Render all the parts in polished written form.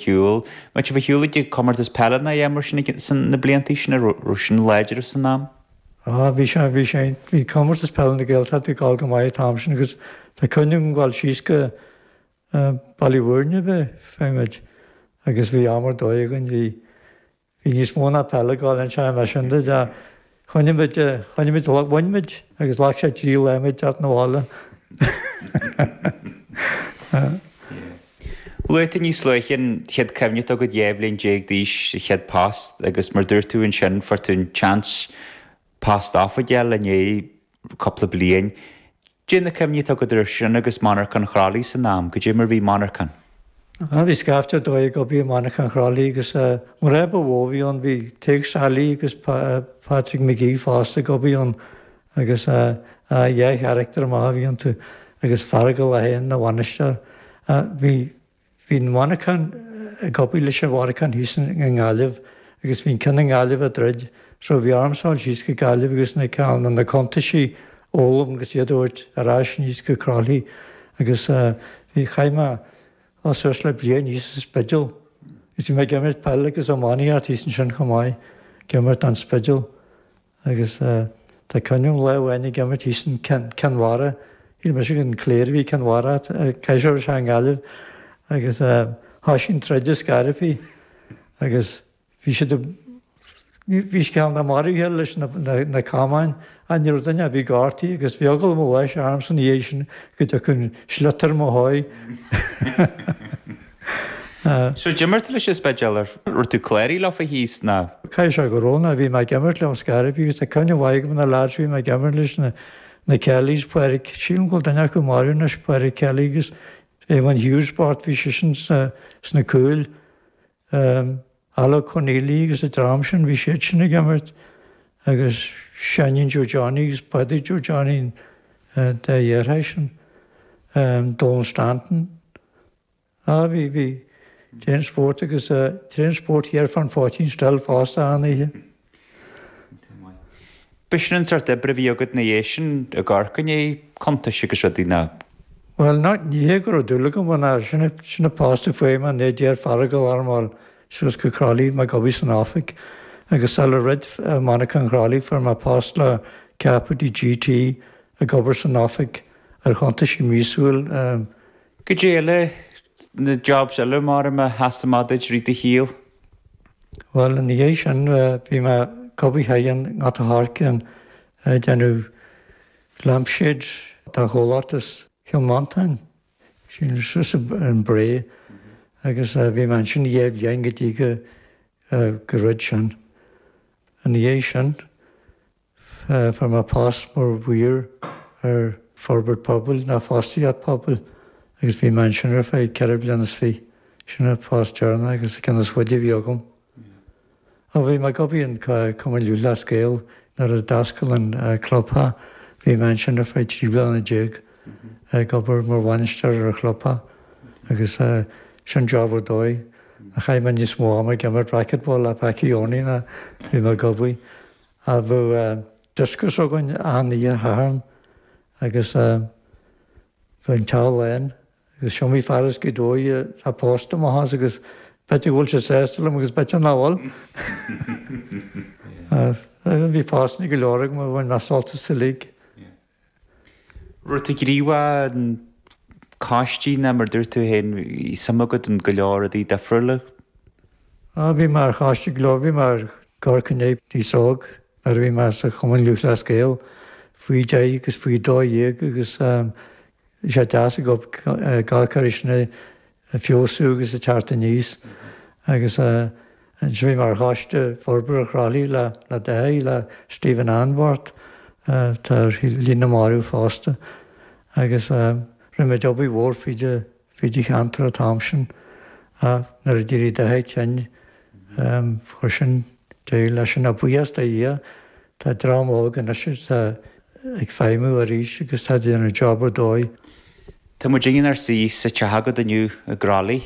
Shiúl. An mbeadh sibh ar shiúl ag comórtas peile ná a dhath mar sin ag na bliantaí sin, an raibh sin láidir san am? Á, bhí sé, bhí sé, bhí comórtas peile na Gaeltachta ag gabháil go maith an t-am sin agus tá cuimhne agam gabháil síos go Baile Mhúirne ab ea, fé muid, agus bhí am ar dóigh againn, bhí, Bhí níos mó ná peil ag gabháil ansin mar sin de. Choinnigh muid, choinnigh muid, bhain muid agus ghlac sé 3 lá muid teacht 'na bhaile. Luaigh tú níos luaithe an chéad cuimhne atá agat 12 bhliain d'aois, an chéad post agus mar dúirt tú ansin fuair tú an chance post oifige a fháil i ndiaidh cúpla bliain. Cad é na cuimhní atá agat air sin agus Monarchan Chroithlí san am, goidé mar bhí monarchan. Ah bhí scaifte ar dóigh ag obair i Monarchan Chroithlí agus an rud ba mhó a bhí ann bhí Tadhg Sally agus Patrick McGee fosta ag obair ann agus dhá charachtar maith a bhí iontu agus Feargal é féin ina bhainisteoir. Bhí Bhí an mhonarchan ag obair leis an mhonarchan thíos i nGaillimh agus bhí an ceann i nGaillimh ag druid so bhí ormsa dul síos go Gaillimh agus na ceann na cuntaisí a fhoghlaim agus iad a thabhairt ar ais aníos go Croithlí agus bhí chaith mé ó suas le bliain thíos sa Spidéal agus bhí mé ag imirt peile agus iománaíocht thíos ansin chomh maith, ag imirt don Spidéal. Agus tá cuimhne agam lá amháin ag imirt thíos in Cionn Mhara, shíl mise gur an Clare a bhí Cionn Mhara, caithfidh sé raibh sé i nGaillimh, agus thoisigh an troid ar scor ar bith agus bhí siad ag, bhí siad cineál maraithe leis na camáin ach ní raibh duine ar bith gortaithe agus bhí eagla mo bháis ormsa ina dhiaidh sin go dtiocfadh an sliotar mo thóigh. So d'imir tú leis an Spidéal ar raibh tú cláraithe leofa thíos ná? Caithfidh sé go raibh ná bhí mé ag imirt leo ar scor ar bith agus tá cuimhne mhaith agam na lads a bhí mé ag imirt leis na na Kellys, Pádraig, sílim go bhfuil duine acu marbh anois, Pádraig Kelly agus Eamon Hughes bocht bhí seisean sna sna cúil. Alec Conneely agus an dream sin bhí siad sin ag imirt agus Seáinín Joe Johnny agus Pádraig Joe Johnny an dá dheartháir sin, Donal Stanton. Á bhí, bhí. Tréan spóirt agus tréan spóirt thiar fán Phoitín Stil fosta achan oíche. B'shin an sórt oibre a bhí agat ina dhiaidh sin i gCorcaigh, ní cuntais agus rudaí ná. Bhuel, ná, ní hé go raibh dúil agam ann ach sin, sin an post a fuair mé nuair a d'iarr Feargal orm a dhul suas go Croithlí mé ag obair san oifig agus sular dhruid monarchan Chroithlí fuair mé post le Capital GT ag obair san oifig ar chuntaisí míosúil. Goidé eile, na jobs eile mar a sheas amach duit i rith do shaoil? Bhuel, ina dhiaidh sin bhí mé ag obair thoir i nGort a' Choirce ag déanamh lampshades do chomhlacht as Cill Mhantáin, sin suas an Bhré agus bhí mé ansin dhá bhliain go dtí go gur dhruid sin. Ina dhiaidh sin. Fuair mé post mar mhaor ar Forbairt Pobail ná Fostaíocht Pobail agus bhí mé ansin ar feadh ceithre bliana is fiche. Sin an post deireanach agus an ceann is faide a bhí agam. Ó bhí mé ag obair in Cumann Lúthchleas Gael nuair a d'oscail an clubtheach. Bhí mé ansin ar feadh 13 bliana ag obair mar bhainisteoir ar an chlubtheach agus sin job ar dóigh. Chaith mé níos mó ama ag imirt racquetball le Packie Owney ná bhí mé ag obair. A bheadh dioscos againn achan oíche Shathairn agus bheadh an teach lán agus is iomaí fear as Gaoth Dobhair atá pósta amach as agus b'fhéidir go bhfuil siad sásta liom agus b'fhéidir nach bhfuil. Bhí postanna go leor agam a bhain mé sult as uilig. Raibh tú gníomhach in coistí ná mar dúirt tú féin bhí suim agat in go leor rudaí difriúla? Á bhí mé ar choistí go leor, bhí mé ar Chorca níos óg nuair a bhí mé sa Chumann Lúthchleas Gael faoi 10 agus faoi 12 agus bhí sé deas ag gabháil air sin ag feabhsú agus ag teacht aníos agus ansin bhí mé ar choiste forbartha Chroithlí le le Dáithí, le Stephen Anbort atá ar shlí na marbh fosta agus rinne muid obair mhór fríd fríd an cheantar an t-am sin ach nuair a d'éirigh Dáithí tinn chuir sin deireadh leis sin. Ach buíochas do Dhia tá dream óg anois atá ag feidhmiú arís agus tá ag déanamh job ar dóigh. Tá muid inár suí sa teach agat inniu i gCroithlí.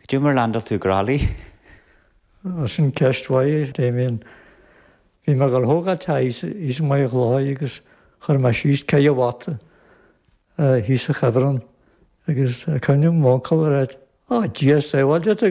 Cad é mar landáil tú i gCroithlí? Sin ceist mhaith, Damien. Bhí mé ag dul a thógáil teach thíos i mBaile Chlochair agus chuir mé síos ceithre bhata thíos sa chuibhreann agus cuimhním m'uncail a rá. Ó, Dia sábháilte.